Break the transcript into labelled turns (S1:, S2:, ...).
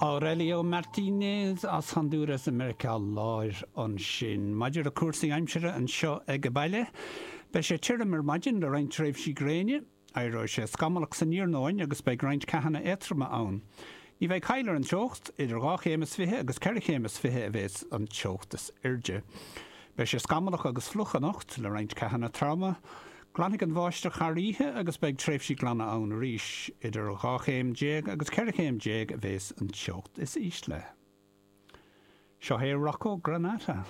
S1: Aurelio Martinez as Hondúras i Meiriceá Láir ansin. Maidir le cúrsaí aimsire anseo ag baile, beidh sé tirim ar maidin le roinnt tréimhsí gréine. Éireoidh sé scamallach san iarnóin agus beidh roinnt ceathanna éadtroma ann. Ní bheidh caill ar an teocht, idir 2 chéim is 20 agus 4 chéim is 20 a bheas an teocht is airde. Beidh sé scamallach agus fliuch anocht, le roinnt ceathanna troma. Glanfaidh an bháisteach thar oíche agus beidh tréimhsí glana ann arís. Idir 12 chéim agus 14 chéim a bheas an teocht is ísle. Seo é Rocco Granata.